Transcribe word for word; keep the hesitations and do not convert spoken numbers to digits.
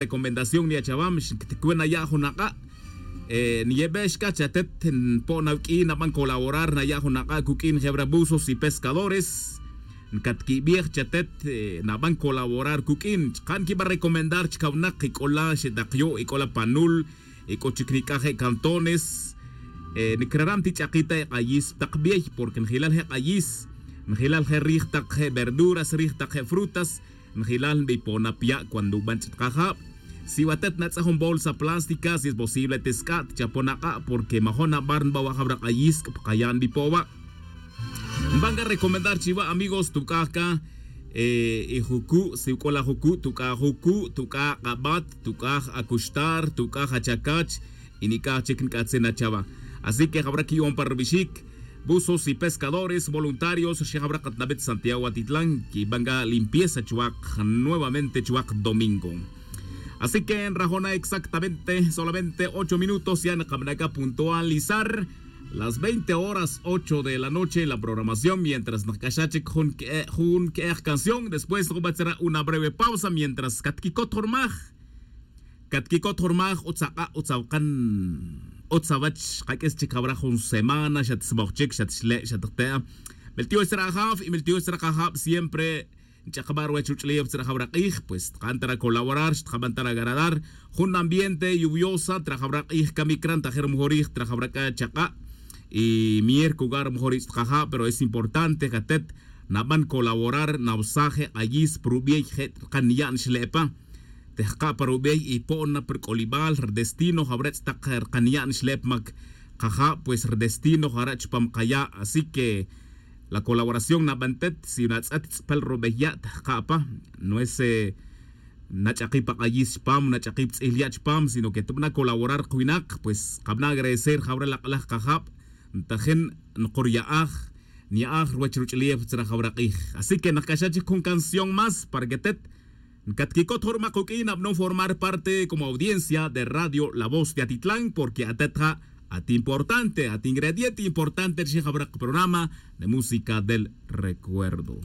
Recomendación niya' chawa mix ncticwe naya' jun ak'a'. Niyebe' xca chatet npo'n awq'uin naban colaborar naya' jun ak'a' cuq'uin jebra buzos y pescadores. Ncatquibej chatet naban colaborar cuq'uin chka' nquiba recomendar chcawnak ic'ola xetakyo' ic'ola panul ic'o chic nic'aj je' cantones. Ncraram ti ch'akita' ek'ayis ptak bey porque njilal je' k'ayis, njilal je' rij tak je' verduras rij tak je' frutas. Njilal nbipo'na pya' cuando nban ch'it kajab. Si watet natz'aj jun bolsa plástica si es posible tisc'a' tchapon ak'a' porque majo' nabar nba wa' jawra k'ayisc' pkaya' nbipo' wa'. Nban ga recomendar chiwa' amigos tuc'aj ca. Y jucu' si uc'ol ajucu' tuc'aj jucu' tuc'aj ak'abat tuc'aj acuxtar tuc'aj achacach. Y nic'aj chic nc'atzin achawa'. Así que jawra qui'on pa rubixic buzos y pescadores voluntarios rxijawra katnabet santiago atitlan quiban ga limpieza chuwak nuevamente chuwak domingo. Así que nrajona exactamente solamente ocho minutos ya nkamnaca puntualizar las veinte horas ocho de la noche en la programación mientras nkc'axa chic jun que'ej canción después nkubatzara una breve pausa mientras catquicot jurmaj. Catquicot jurmaj utz ak'a' utz awkan utz awach kaq'uis chic jawra jun semana xatsmoj chic xatxle' xatjte'a. Miltioy tzra' ajaf y miltioy tzra' kajab siempre nch'akba' ruwech ruch'ulef tzra' jawra k'ij pues tka'n tara colaborar xtkaban tara garadar jun ambiente lluviosa tra jawra k'ij kamik ran tajir mejorij tra jawra k'a chak'a'. Y mier kugar mejorij tzra' kajab pero es importante jatet naban colaborar nawsaje k'ayis prubiey je' tkan ya'n xle'pa. Tejka' pa rubey y po'na pa rk'olibal rdestino jawre' tz'tak rkan ya'n xlep mak kaja' pues rdestino jare' chupam kaya'. Así que la colaboración nabantet si natz'et tz'pel rubey ya' tejka' pa nuese nach'aki pa k'ayis chupam nach'aki ptz'il ya' chupam sino que tubana colaborar kwinak pues kabana agradecer jawre' lak'laj kajab. Ntajin nkurya'aj nya'aj ruwech ruch'ulef tzra jawra k'ij. Así que nakc'axa chic jun canción más para que tet ncatquicot jun rumak uq'uin abnon formar parte como audiencia de radio la voz de atitlan porque atet ja' at importante at ingrediente importante rixin jawra kaprograma de música del recuerdo.